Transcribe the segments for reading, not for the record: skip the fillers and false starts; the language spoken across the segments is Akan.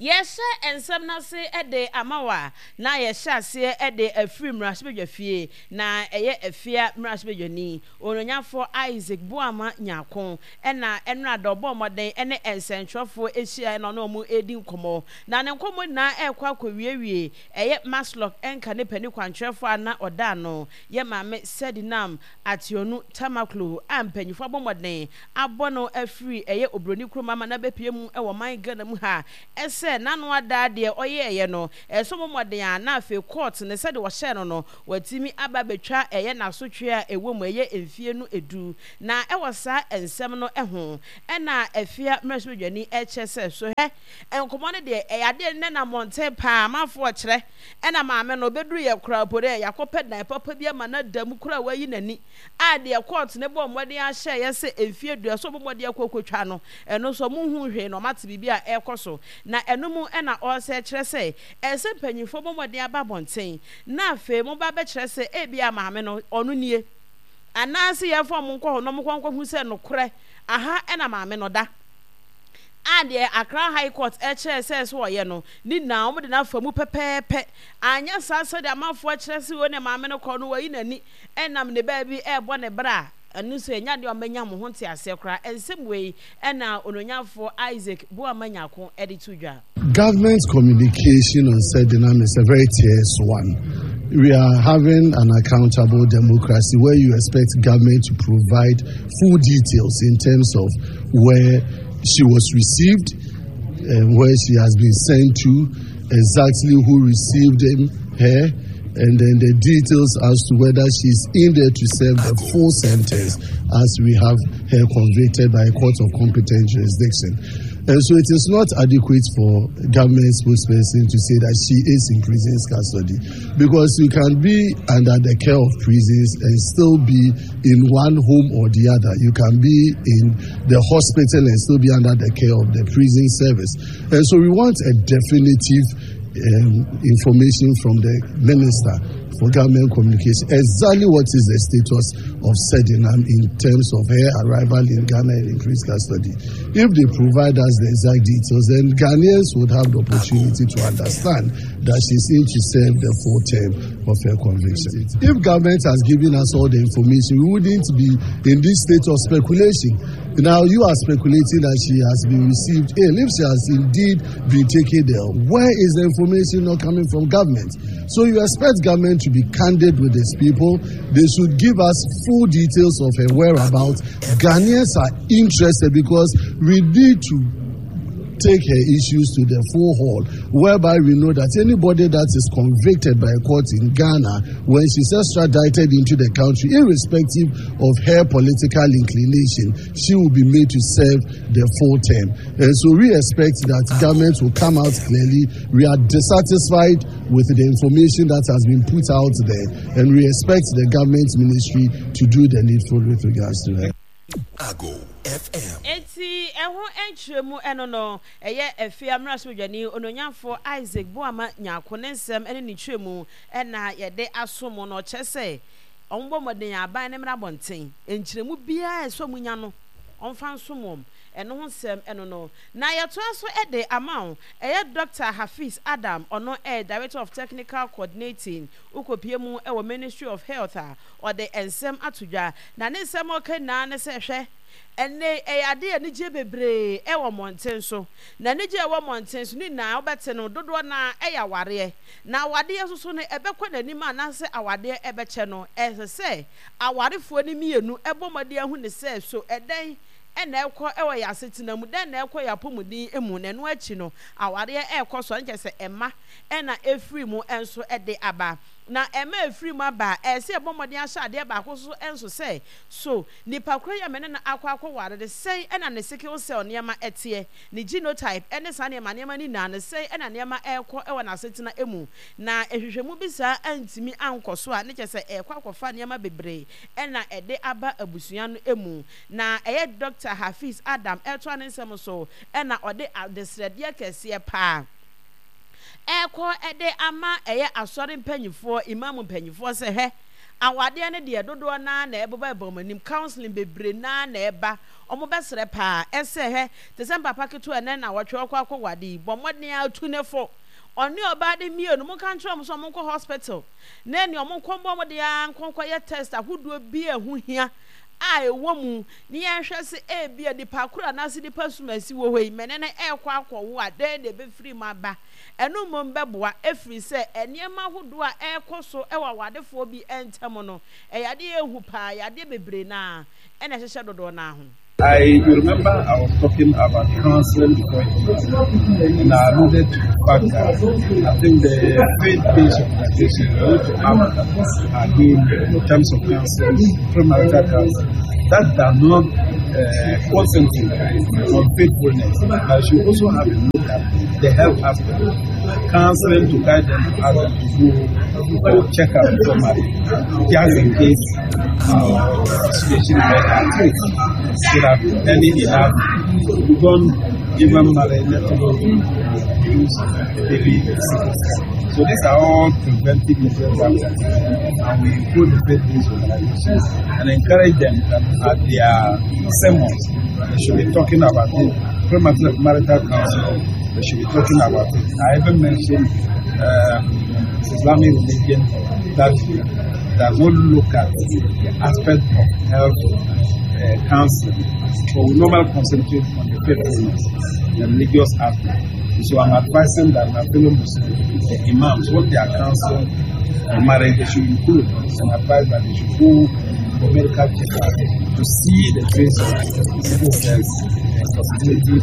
Yɛrehyɛ nsɛm no ase de ama wo a, na yɛhyɛ aseɛ de afiri mmarahyɛbadwafie, na ɛyɛ Afia mmarahyɛbadwani, Onuonyafoɔ Isaac Boamah Nyarko na ɛnora da ɔbɔɔ mmɔden ne nsɛntwerɛfoɔ hyiaeɛ na ɔne wɔn redi nkɔmmɔ. Na ne nkɔmmɔ nyinaa rekɔ akɔwiewie ɛyɛ Masloc nka ne panin kwankyerɛfoɔ a na ɔda ano yɛ Maame Sedinam Ationu Tamaklo a mpanyinfoɔ abɔ mmɔden abɔ no afiri ɛyɛ obroni kurom ama no abɛpue mu wɔ man Ghana mu ha sɛ n'ano ada deɛ ɔyɛɛyɛ no ɛsɛ ɔbɔ mmɔden a na afei court no sɛdeɛ wɔhyɛɛ no no watumi aba abɛtwa ɛyɛ n'asotwe a ɛwɔ mu ɛyɛ mfie no du na ɛwɔ saa nsɛm no ho ɛna Afia mmarahyɛbadwani ɛkyɛ sɛ sohɛ nkɔmmɔ no deɛ ɛyɛ adeɛ nnɛ na mmɔnten paa amanfoɔ kyerɛ Ɛna maame no ɔbɛduruiɛ koraa mpo dɛ yɛakɔpɛ dan papa bi ama no ada mu koraa a wayi n'ani a deɛ kɔɔto no bɔɔ mmɔden ahyɛeɛ sɛ mfeɛ aduasa ɔbɔ mmɔden akɔ akɔtwa no, ɛno nso wɔnhuu hwee na wɔate biribi a ɛrekɔ so. Na ɛno mu na ɔresɛ kyerɛ sɛ ɛsɛ sɛ mpanimfoɔ bɔ mmɔden aba abɔnten na afei wɔba abɛkyerɛ sɛ ebia maame no ɔno nie anaasɛ yɛmfa wɔn nkɔ hɔ na wɔnkɔ nkɔhu sɛ nokorɛ aha na maame no da. A deɛ Accra High Court kyerɛɛ sɛ ɛsɛ ɔyɛ no, ne nyinaa wɔde no afa mu pɛpɛɛpɛ. Anyɛ saa sɛdeɛ amanfoɔ kyerɛ sɛ wei ne maame no kɔ no, wayi n'ani nam ne baabi rebɔ ne bra a, ɛno nso ɛnyɛ adeɛ a wɔbɛnya mo ho nteaseɛ koraa. Nsɛm wei na Onuonyamfoɔ Isaac Boamah Nyarko de to dwa. Government communication on Sedinam is a very tearful one. We are having an accountable democracy where you expect government to provide full details in terms of where she was received and where she has been sent to, exactly who received him, her, and then the details as to whether she's in there to serve the full sentence as we have her convicted by a court of competent jurisdiction. And so it is not adequate for government spokesperson to say that she is in prison's custody because you can be under the care of prisons and still be in one home or the other. You can be in the hospital and still be under the care of the prison service. And so we want a definitive um, information from the minister for government communication exactly what is the status of Sedinam in terms of her arrival in Ghana and increased custody. If they provide us the exact details, then Ghanaians would have the opportunity to understand that she's in to serve the full term of her conviction. If government has given us all the information, we wouldn't be in this state of speculation. Now you are speculating that she has been received ill. If she has indeed been taken ill, where is the information not coming from government? So you expect government to be candid with its people. They should give us full details of her whereabouts. Ghanaians are interested because we need to take her issues to the full hall, whereby we know that anybody that is convicted by a court in Ghana, when she's extradited into the country, irrespective of her political inclination, she will be made to serve the full term. And so we expect that government will come out clearly. We are dissatisfied with the information that has been put out there, and we expect the government ministry to do the needful with regards to her. Ago FM. Enti ɛho nkyerɛmu ɛno no, ɛyɛ Afia mmarahyɛbadwani Onuonyamfoɔ Isaac Boamah Nyarko ne nsɛm ne ne nkyerɛmu na yɛde aso mo no. Ɔkyerɛ sɛ wɔbɔ mmɔden aban no mmra abɔnten, nkyerɛmu biara a ɛsɛ wɔnya no wɔmfa nsom wɔn. Ɛno ho nsɛm ɛno no. Na yɛtoa so de ama wo, ɛyɛ Dɔkta Hafiz Adam, ɔno ɛyɛ Director of Technical Coordinating, wokɔpue mu wɔ Ministry of Health a, ɔde nsɛm ato dwa. Na ne nsɛm a ɔka nyinaa ne sɛ, Hwɛ, ɛnnɛ yi, ɛyɛ ade a anigyeɛ bebree wɔ mmɔnten so. Na anigyeɛ a ɛwɔ mmɔnten so no nyinaa, wobɛte no, dodoɔ no ara yɛ awareɛ. Na awadeɛ nso so no, ɛbɛkɔ n'anim anaasɛ awadeɛ bɛkyɛ no, ɛsɛ sɛ awarefoɔ no mmienu bɔ mmɔden ahu no sɛ, so ɛdɛn na ɛrekɔ wɔ yɛn asetena mu, dɛn na ɛrekɔ yɛn apɔmuden mu, na ɛno akyi no, awareɛ rekɔ so a, na kyerɛ sɛ mma na ɛfiri mu nso de aba. Na ɛma ɛfiri mu aba a, ɛsɛ sɛ yɛbɔ mmɔden ahyɛ adeɛ baako so nso sɛ, So nipa korɔ yi a me ne no akɔ akɔware no, sɛn na ne sickle cell nneɛma teɛ, ne genotype ne saa nneɛma nneɛma no nyinaa no, sɛn na nneɛma rekɔ wɔ n'asetena mu? Na nhwehwɛmu bi saa antumi ankɔ so a, ne kyerɛ sɛ ɛrekɔ akɔfa nneɛma bebree na ɛde aba abusua no mu. Na ɛyɛ Dɔkta Hafiz Adam retoa ne nsɛm so na ɔde adesrɛdeɛ kɛseɛ paa ɛrekɔ de ama ɛyɛ asɔre mpanyinfoɔ, imam mpanyinfoɔ sɛ hwɛ, Awadeɛ no deɛ dodoɔ no ara na ɛbobɔ ɛba wɔn anim, counselling bebree no ara na ɛba, wɔn bɛsrɛ paa ɛsɛ hwɛ te sɛ mpapa ketewa ɛnɛ nnawɔtwe ɔkɔ akɔ wade yi, bɔ mmɔden ara tu ne fo, ɔne ɔbaa de mmienu monka nkyerɛ wɔn sɛ wɔn nkɔ hospital na ɛne wɔn nkɔ mmɔ mmɔden ara nkɔ nkɔ yɛ test ahodoɔ bi a ɛho hia a ɛwɔ mu ne yɛnhwɛ sɛ ebia nipa koro anaasɛ nipa sumasi wɔ hɔ yi mene no ɛrekɔ akɔwo a dɛn na ɛbɛfiri mu aba. Ɛno mmom bɛboa, ɛfiri sɛ nneɛma ahodoɔ a ɛrekɔ so wɔ awadefoɔ bi ntam no, ɛyɛ adeɛ a ɛyɛ hu pa ara, yadeɛ bebree no ara na ɛhyehyɛ dodoɔ no ara ho. I you remember I was talking about counseling before you and I alluded to the fact that I think the faith-based organization need to up our game in terms of counseling, premarital counseling. That does not uh, concentrate on faithfulness, but should also have a look at the health aspect. Counseling to guide them to ask them to go for check up before marriage, just in case uh, situation where they are treated, so that early enough you don't even marry, let alone use baby So these are all preventive measures that we are taking, and we include the faith-based organizations and encourage them that at their sermons they should be talking about it. Premarital counseling, they should be talking about it. I even mentioned um, Islamic religion that does not look at the aspect of health uh, counseling, but we normally concentrate on the faithfulness, the religious aspect. So I'm advising that my fellow Muslims, the imams, what they are counseling on marriage, they should include and advise that they should go for medical checkup to see the trace of if there's a possibility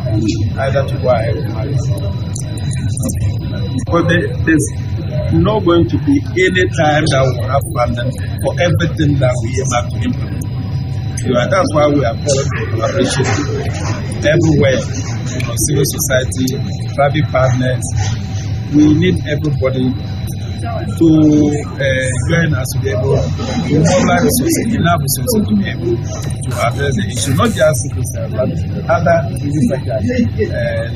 um, either to go ahead and marry. But there, there's not going to be any time that we will have funding for everything that we aim at to implement. You know, that's why we are calling for collaboration everywhere. You know, civil society, private partners. We need everybody to uh, join us to be able to mobilize resources, enough resources to be able to address the issue, not just sickle cell, but other diseases such as uh,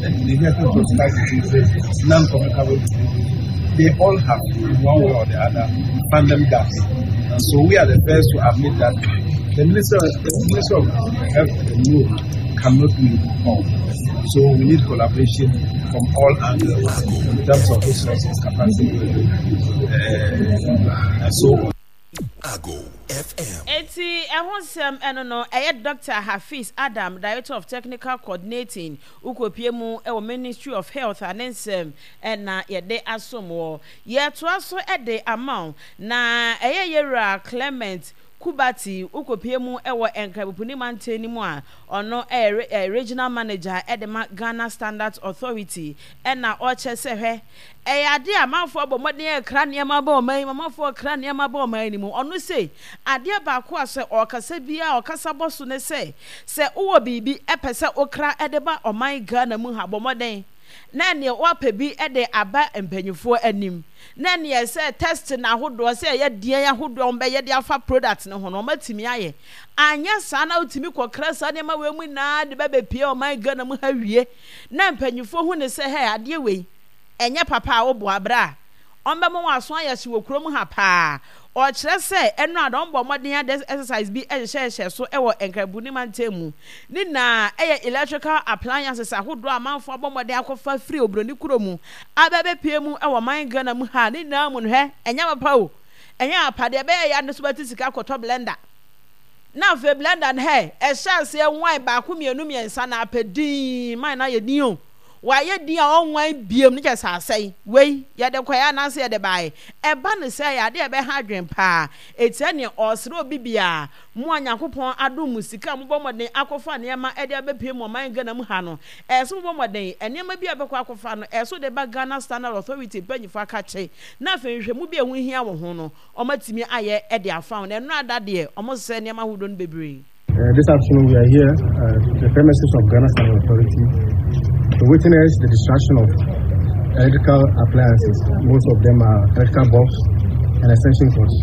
the inheritance of diseases, non-communicable diseases. They all have, in one way or the other, funding gaps. And so we are the first to admit that the Minister, the Minister of Health alone cannot do it all. So we need collaboration from all angles in terms of resources, capacity, uh, and so on. Ago FM. Enti ɛho nsɛm ɛno no, ɛyɛ Dɔkta Hafiz Adam, Director of Technical Coordinating, wokɔpie mu wɔ Ministry of Health a ne nsɛm na yɛde asom wɔ. Yɛtoa so de ama wo, na ɛyɛ Yɛwura Clement Kubati, wokɔpie mu wɔ Nkrabopuni mantam no mu a ɔno yɛ Regional Manager de ma Ghana Standards Authority na ɔkyɛ sɛ hwɛ ɛyɛ adeɛ a amanfoɔ abɔ mmɔden rekra nneɛma aba ɔman yi mu, amanfoɔ rekra nneɛma aba ɔman no mu. Ɔno sei, adeɛ baako a sɛ ɔrekasa biara a ɔkasa bɔ so ne sɛ, sɛ wowɔ biribi pɛ sɛ wokra de ba ɔman Ghana mu ha, bɔ mmɔden na ɛneɛ woapɛ bi de aba mpanyinfoɔ anim na ɛneɛ sɛ test no ahodoɔ sɛ ɛyɛ deɛn ahodoɔ a wɔbɛyɛ de afa product no ho no wɔatumi ayɛ. Anyɛ saa na wotumi kɔkra saa nneɛma wei mu nyinaa de bɛbɛpie ɔman Ghana mu ha wie na mpanyinfoɔ hu ne sɛ hɛ adeɛ wei ɛnyɛ papa a woboa berɛ a ɔmbɛma wɔn aso ayɛ hye wɔ kurom ha paa. Ɔkyerɛ sɛ ɛno a na ɔmbɔ mmɔden ade exercise bi hyehyɛhyehyɛ so wɔ Nkrabuni mantam mu. Ne nyinaa yɛ electrical appliances ahodoɔ a amanfoɔ abɔ mmɔden akɔfa firi oburoni kuro mu aba abɛpue mu wɔ ɔman Ghana mu ha. Ne nyinaa mu no hwɛ, ɛnyɛ papa o, ɛnyɛ papa. Deɛ ɛbɛyɛ ya no nso bɛte sika akɔtɔ blender. Na afei blender no hɛ, ɛhyɛ aseɛ nwan baako mmienu mmiɛnsa na apɛ dinn, man no ayɛ din o. Wayɛ din a ɔnwan biom no kyerɛ sɛ asɛe. Wei, yɛde kɔeɛ anaasɛ yɛde baeɛ? Ɛba no sɛ ɛyɛ adeɛ a ɛbɛha adwene paa. Enti ɛneɛ ɔresrɛ obi biara, mo a Nyankopɔn adom mo sika a mobɔ mmɔden akɔfa nneɛma de abɛpue mo ɔman Ghana mu ha no, ɛyɛ sɛ mobɔ mmɔden, nneɛma bi a wobɛkɔ akɔfa no, ɛyɛ sɛ wode ba Ghana Standard Authority mpanyinfoɔ akakye, na afei nhwehwɛmu bi a ɛho hia wɔ ho no, wɔatumi ayɛ de afa ho. Na ɛno ada deɛ, wɔsesɛ nneɛma ahodoɔ no bebree. Uh, this afternoon we are here at the premises of Ghana Standard Authority to witness the destruction of electrical appliances. Most of them are electrical bulbs and extension cords.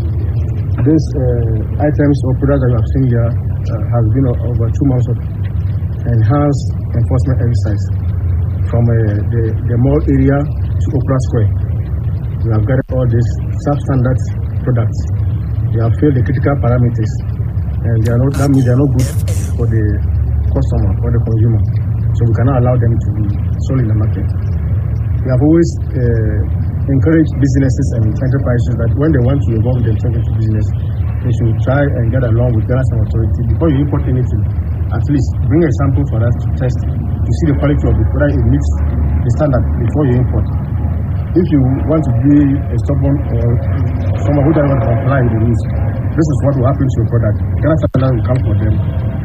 These uh, items or products that you have seen here uh, has been over two months of enhanced enforcement exercise from uh, the, the mall area to Opera Square. We have gathered all these substandard products. They have failed the critical parameters, and they are not, that means they are not good for the customer or the consumer. So we cannot allow them to be sold in the market. We have always uh, encouraged businesses and enterprises that when they want to involve themselves into business, they should try and get along with Ghana Authority before you import anything. At least bring a sample for us to test to see the quality of it, whether it meets the standard before you import. If you want to be a stubborn or someone who doesn't want to comply with the rules, this is what will happen to your product. Ghana Standard will come for them,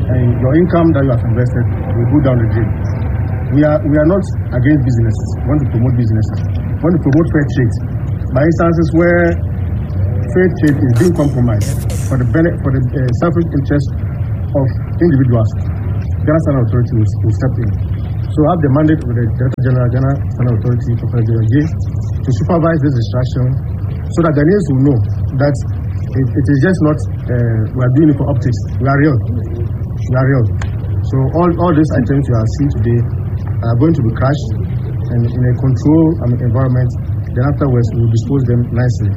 and your income that you have invested will go down the drain. We are, we are not against businesses. We want to promote businesses. We want to promote fair trade. By instances where fair trade is being compromised for the benefit, for the uh, selfish interest of individuals, Ghana Standard Authority will, will step in. So I have the mandate of the Director General, Ghana Standard Authority, Professor General Jay, to supervise this destruction so that Ghanaians will know that it, it is just not, uh, we are doing it for optics. We are real. We are real. So all, all these items you are seeing today are going to be crushed and in a controlled um, environment. Then afterwards, we will dispose them nicely.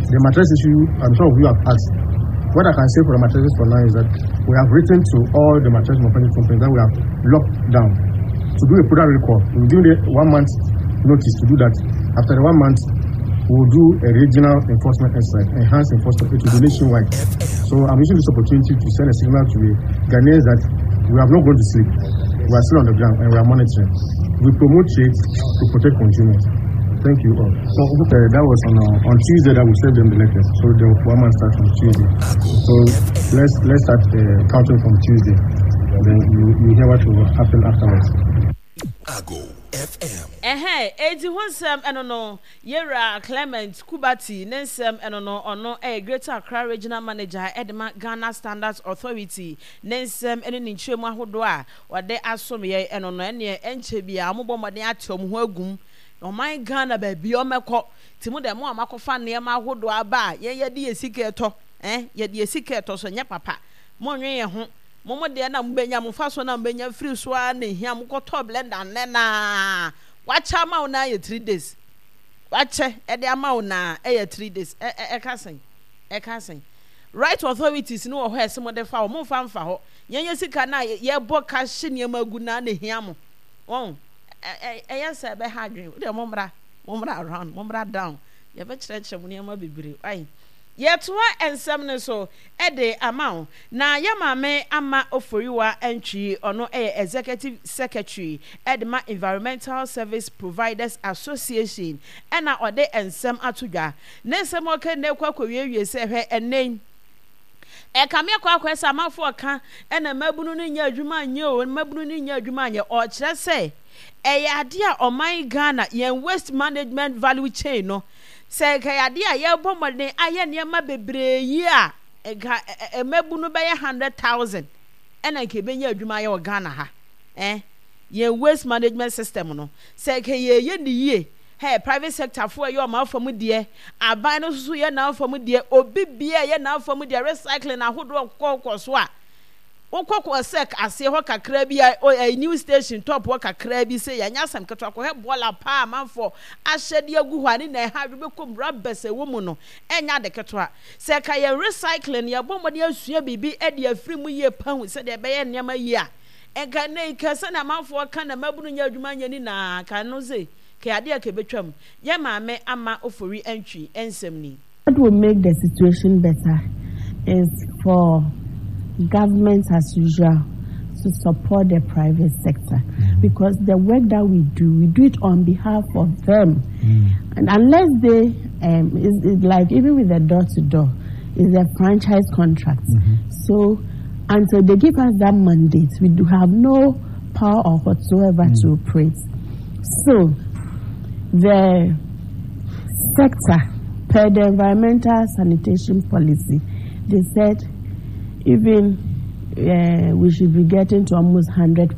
The mattress issue, I'm sure you have asked. What I can say for the mattresses for now is that we have written to all the mattress manufacturing companies that we have locked down to do a product recall. We'll give them one month notice to do that. After the one month, we'll do a regional enforcement exercise, enhanced enforcement, it will be nationwide. So I'm using this opportunity to send a signal to the Ghanaians that we have not gone to sleep. We are still on the ground and we are monitoring. We promote trade to protect consumers. Thank you all. So uh, that was on uh, on Tuesday that we sent them the letters. So the one month starts on Tuesday. So let's let's start uh, counting from Tuesday. Then you you hear what will happen afterwards. Ago FM. Ɛhɛn, enti ho nsɛm ɛno no, Yewura Clement Kubati ne nsɛm ɛno no, ɔno ɛyɛ Greater Accra Regional Manager ɛde ma Ghana Standards Authority, ne nsɛm ɛne ne nkyerɛmu ahodoɔ a ɔde asom yɛn ɛno no, ɛneɛ ɛnkyɛ biara wɔn bɔ mmɔden ate wɔn ho agum Ɔman Ghana baabi a ɔmɛkɔ nti mo deɛ mo a moakɔfa nneɛma ahodoɔ aba a yɛn yɛde yɛn sika ɛtɔ eh yɛde yɛn sika ɛtɔ so ɛnyɛ papa monnwen yɛn ho mo mo deɛ na mobɛnya mo mfasoɔ na mobɛnya firi so ara na ɛhia mokɔtɔ blender nnɛ naa wakyɛ ama wo naa yɛ 3 days wakyɛ ɛde ama wo naa ɛyɛ 3 days ɛ ɛ ɛka sɛn ɛka sɛn right authorities no wɔ hɔ ɛsɛ mo de fa hɔ momfa mfa hɔ yɛn yɛ sika na yɛbɔ ka hye nneɛma gu naa na ɛhia mo wɔn Ɛyɛ sɛ ɛbɛha adwene. Wo deɛ mommra, mommra around, mommra down. Yɛbɛkyerɛkyerɛ mo nneɛma bebree. Wai. Yɛtoa nsɛm no so de ama wo. Na yɛ maame Ama Oforiwa Antwi, ɔno yɛ Executive Secretary de ma Environmental Service Providers Association ɛna ɔde nsɛm ato dwa. Ne nsɛm a ɔka nyinaa kɔ akɔwiewie sɛ hwɛ ɛnnɛ yi, Ɛkame akɔ akɔyɛ sɛ amanfoɔ reka ɛna mmabunu no nyɛ adwuma nyɛ o, mmabunu no nyɛ adwuma nyɛ. Ɔkyerɛ sɛ ɛyɛ adeɛ a ɔman Ghana yɛn waste management value chain no, sɛ nka ɛyɛ adeɛ a yɛrebɔ mmɔden ayɛ nneɛma bebree yi a, nka mmabunu bɛyɛ 100,000 ɛna nka ɛbɛnya adwuma ayɛ wɔ Ghana ha. Eh, yɛn waste management system no, sɛ nka yɛyɛ ne yie Hey, private sector foɔ ɛyɛ ɔmo afa mu deɛ, aban no nso so yɛ n'afa mu deɛ, obi biara ɛyɛ n'afa mu deɛ, recycling ahodoɔ kɔkɔ so a, wokɔ kɔ sɛk aseɛ hɔ kakra bi a, ɛyɛ new station top hɔ kakra bi sɛ yɛnyɛ asɛm ketewa kɔhwɛ bɔɔla paa amanfoɔ ahyɛ de agu hɔ a ne na ɛha adwo bɛkɔ mu rubbers ɛwɔ mu no ɛnyɛ ade ketewa. Sɛ ɛka yɛn recycling yɛbɔ mmɔden asua biribi de afiri mu yie pa hu sɛdeɛ ɛbɛyɛ nneɛma yie a, nka nnɛ yi ka sɛnea amanfoɔ ka na mmabunu nyɛ adwuma nyɛ ne nyinaa ka no se Kɛ adeɛ a kɛbɛtwam. Yɛ maame Ama Ofori Antwi nsɛm ni. What will make the situation better is for government as usual to support the private sector mm. because the work that we do, we do it on behalf of them. Mm. And unless they, um, it's, it's like even with the door to door, it's a franchise contract. Mm-hmm. So until they give us that mandate, we do have no power or whatsoever mm. to operate. So the sector, per the environmental sanitation policy, they said even uh, we should be getting to almost 100%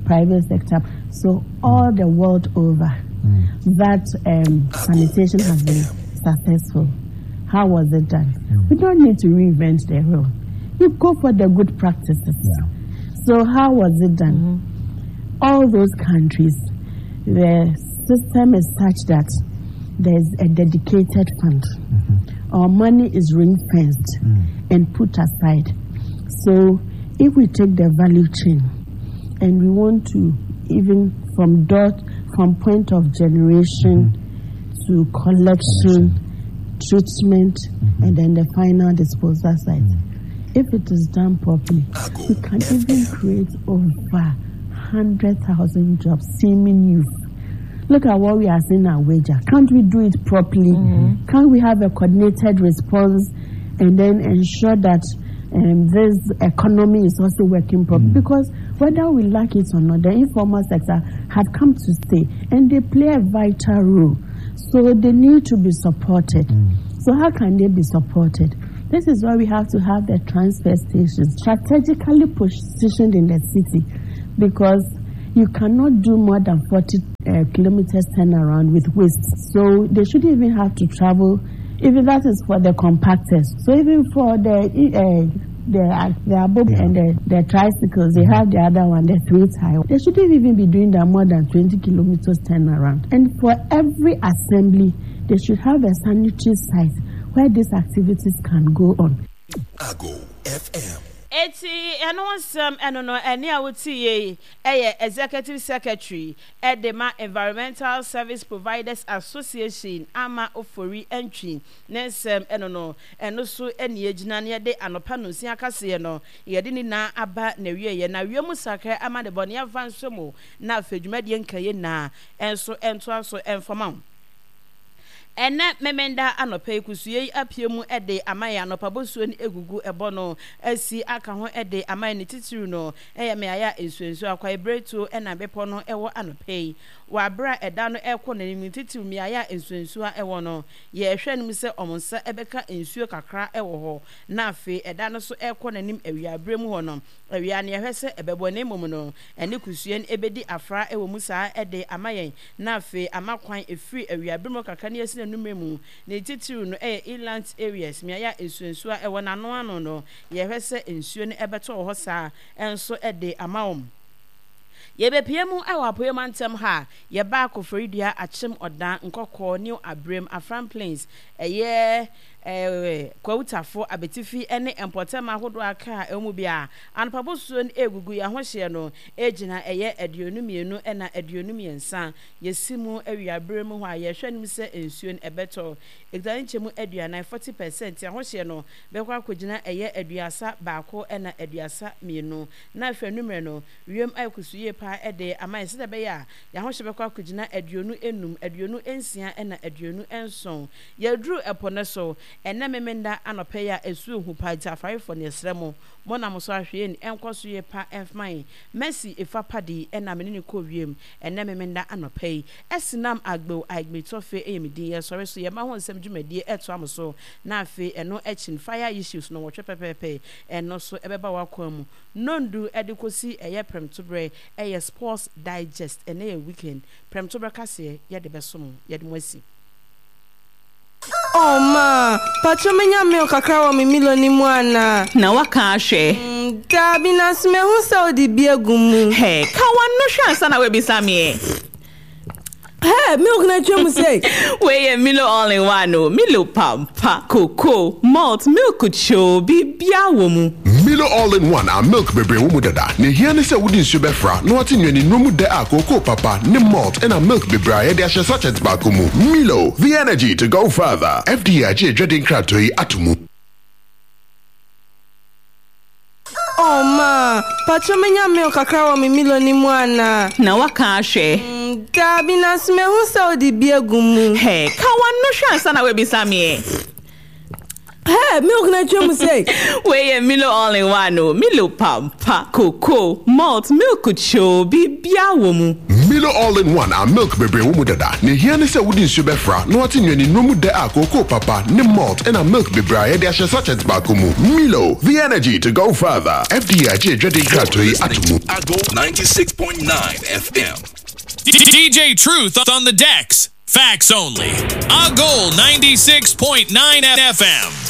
private sector. So all the world over, mm. that um, sanitation has been successful. How was it done? Mm. We don't need to reinvent the wheel. You go for the good practices. Yeah. So how was it done? Mm-hmm. All those countries, the system is such that there's a dedicated fund mm-hmm. Our money is ring fenced mm. and put aside. So if we take the value chain and we want to even from dot from point of generation mm-hmm. to collection, treatment, mm-hmm. and then the final disposal site. Mm-hmm. If it is done properly, we can even create over 100,000 jobs, seeming youth. Look at what we are seeing at Wager. Can't we do it properly? Mm-hmm. Can't we have a coordinated response and then ensure that um, this economy is also working properly? Mm-hmm. Because whether we like it or not, the informal sector have come to stay and they play a vital role. So they need to be supported. Mm. So how can they be supported? This is why we have to have the transfer stations strategically positioned in the city because you cannot do more than 40 uh, kilometers turnaround with waste. So they shouldn't even have to travel, even that is for the compactors. So even for the uh, the the above yeah. and the, the tricycles, they have the other one, the three tire. They shouldn't even be doing that more than 20 kilometers turnaround. And for every assembly, they should have a sanitary site where these activities can go on. Ago FM. Eti ɛno nsɛm ɛno no ɛne a wotie yi ɛyɛ Executive Secretary ɛde ma Environmental Service Providers Association Ama Ofori Antwi ne nsɛm ɛno no ɛno so ɛne yɛgyina na yɛde anɔpa nonsia kaseɛ no yɛde ne nyinaa aba n'awieɛ na wiem sakra ama ne bɔne yɛmfa nhyɛ mu na afei dwumadie nkaeɛ nyinaa ɛnso ɛntoa so ɛmfa ma wo. Ɛnnɛ Memenda anɔpa yi, kusuuyɛ yi apue mu de ama yɛn. Anɔpa bosuo no gugu ɛbɔ no asi aka ho de ama yɛn. Ne titiriw no yɛ mmeaeɛ a nsuonsuo, akwaebiretuo na bepɔ no wɔ anɔpa yi. Wɔ aberɛ a ɛda no rekɔ n'anim no, titiriw mmeaeɛ a nsuonsuo wɔ no, yɛrehwɛ anim sɛ wɔn nsa bɛka nsuo kakra wɔ hɔ. Na afei ɛda no nso rekɔ n'anim awiaberɛ mu hɔ no, awia no yɛhwɛ sɛ ɛbɛbɔ na mmom no ɛne kusuuyɛ no bɛdi afra wɔ mu saa de ama yɛn. na afei ama kwan ɛfiri awiaberɛ mu kakra ne asi n'anummerɛ mu, ne titiriw no ɛyɛ inland areas, mmeaeɛ a nsuonsuo a ɛwɔ n'ano ano no, yɛhwɛ sɛ nsuo no ɛbɛtɔ wɔ hɔ saa nso de ama wɔn. Yɛbɛpue mu wɔ Apueɛ mantam ha a, yɛba Koforidua, Akyem, Ɔdan, Nkɔkɔɔ, New Abrem, Afram Plains, ɛyɛ Kwawu Tafo, Abetifi ne mpɔtam ahodoɔ a aka a ɛwɔ mu biara. Anɔpa bosuo no ɛregugu yɛn ahohyeɛ no gyina ɛyɛ 22 na 23. Yɛsi mu awia berɛ mu hɔ a, yɛhwɛ anim sɛ nsuo no ɛbɛtɔ. Ɛkita ne nkyɛmu aduanan, 40 percent. Ahohyeɛ no bɛkɔ akɔgyina ɛyɛ 31 na 32. Na afei anwummerɛ no, wiem ayɛ kusuu yie pa ara de ama yɛn sɛdeɛ ɛbɛyɛ a yɛn ahohyeɛ bɛkɔ akɔgyina 25, 26 na 27. Yɛaduru ɛpo no so ɛnnɛ Memenda anɔpa yi a ɛsu hu paa nti afarefoɔ no yɛsrɛ mo, mo na mo so ahwɛ yɛn ɛnkɔ so yie pa ɛmfma yɛn. Mercy Efa Padi ɛna me ne no kɔɔ wiem ɛnnɛ Memenda anɔpa yi. Ɛsenam Agbew Aigbe Tɔfe ɛyɛ me din. Yɛsɔre so yɛma ho nsɛm dwumadie ɛtoa mo so na afei ɛno akyi no Fire Issues nnɔnwɔtwe pɛpɛɛpɛ ɛno so ɛbɛba w'akwan mu nnɔndu ɛde kɔsi ɛyɛ prɛmtoberɛ ɛyɛ Sports Digest ɛnnɛ yɛ weekend prɛmtoberɛ kaseɛ yɛde bɛso mo yɛde mo asi. Oh ma, patrɔ menya milk kakra wɔ me Milo no mu anaa? Na waka ahwɛ. Mm, daabi, nanso mahu sɛ wode bi agu mu. Hey, ka w'ano hwɛ ansa na woabisa me ɛ. Hey, milk na atwa mu sei. Wei yɛ Milo all in one o. Milo pampa, cocoa, malt, milk kyoo, biribiara wɔ mu. Milo All in One a milk bebree wɔ mu dada. Nea ehia ne sɛ wode nsuo bɛfra na woate nnuanennuro mu dɛ a kookoo papa ne malt ɛna milk bebree a yɛde ahyɛ sachet baako mu. Milo, the energy to go further. FDA agye adwadie nkratoɔ yi ato mu. Oh ma, patrɔ menya milk kakra wɔ me Milo no mu anaa? Na waka ahwɛ. Mm, daabi, nanso mahu sɛ wode bi agu mu. Hey, ka w'ano hwɛ ansa na woabisa me ɛ. Hey, milk na atwa mu sei. Wei yɛ Milo all in one o. Milo pampa, cocoa, malt, milk kyoo, biribiara wɔ mu. Milo all in one a milk bebree wɔ mu dada. Nea ehia ne sɛ wode nsuo bɛfra na woate nnuanennuro mu dɛ a kookoo papa ne malt ɛna milk bebree a yɛde ahyɛ sachet baako mu. Milo, the energy to go further. FDA agye adwadie nkratoɔ yi ato mu. Ago 96.9 FM. DJ Truth on the decks. Facts only. A Goal 96.9 FM.